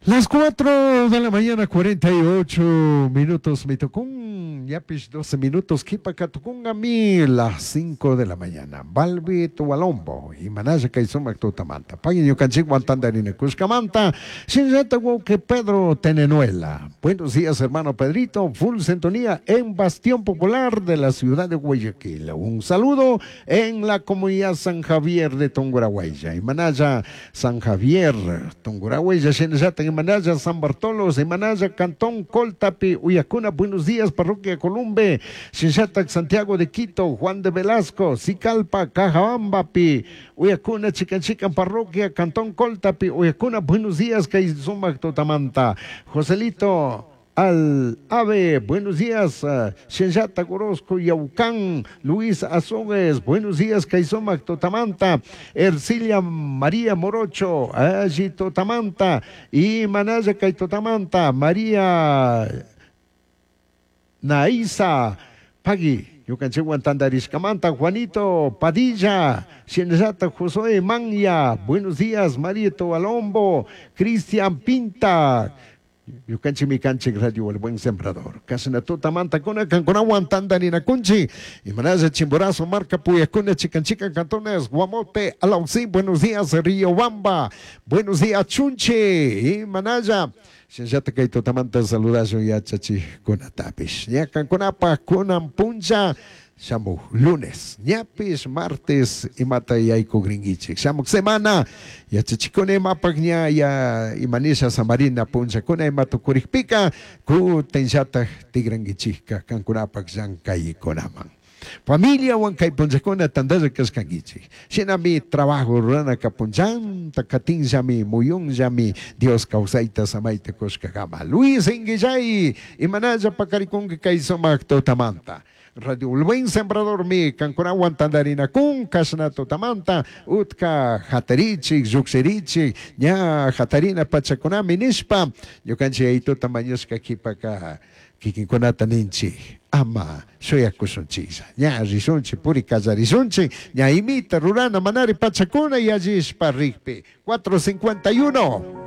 Las 4 de la mañana, 48 minutos, mi tucun, ñapish 12 minutos, qhipaka tucungami, las 5 de la mañana. Balbi Tualombo, imanalla kay sumak tutamanta. Pay ñukanchikwan tantarinakushkamanta, shinallata wawqi Pedro Tenenuela. Buenos días, hermano Pedrito, full sintonía en Bastión Popular de la ciudad de Guayaquil. Un saludo en la comunidad San Javier de Tungurahua. Imanalla San Javier, Tungurahua, shinallata imanalla San Bartolo, imanalla Cantón Coltapi, Uyacuna, buenos días, Parroquia Columbe, shinallata Santiago de Quito, Juan de Velasco, Sicalpa, Cajabambapi, Uyacuna, Chican Chican, Parroquia, Cantón Coltapi, Uyacuna, buenos días, kay sumak tutamanta, Joselito, al Ave, buenos días, Shinllata Gorosco, Yaucán, Luis Azogues, buenos días, kay sumak tutamanta, Ercilia María Morocho, allí tutamanta, y Manaya kay tutamanta, María Naisa, Pagui, ñukanchikwan tantarishkamanta, Juanito Padilla, Shinllata Josué Manya, buenos días, Marito Alombo, Cristian Pinta, ñukanchikmi kanchik Radio El Buen Sembrador. Kashna tutamanta kuna kankunawan tantarinakunchik. Imanalla Chimborazo, Marca Puyacuna, Chican Chican, Cantones, Guamote, Alausín, buenos días, Río Bamba, buenos días, Chunche, Imanalla. Shinllata kay tutamanta saludashun yachachikkunatapish. Ña kankunapaj kunan puncha shamuk lunes, ñapish martes imata yaykugrinkichik. Shamuk semana yachachikuna imapaj ña ya imanisha samarina punchakuna ima tukurikpika kutinllataj tigrankichikka kankunapaj llankaykunaman. Familiawan kay punchakuna tantalla kashkankichik. Shinami trabajo ruranaka punchanta katinllami muyunllami Dios kawsayta samayta kushkakama. Luis Inguillay imanalla pakarikunki kay sumak tutamanta. Radio El Buen Sembrador mi kankunawan tantarinakun kashna tutamanta utka hatarichik lluqshirichik ña hatarina pachakunami nishpa ñukanchik yayituta mañashka qhipaka kikinkunata ninchik ama shuyakushunchiklla ña rishunchik puri kallarishunchik ña imita rurana manari pachakuna yallishpa rikpi 4:51.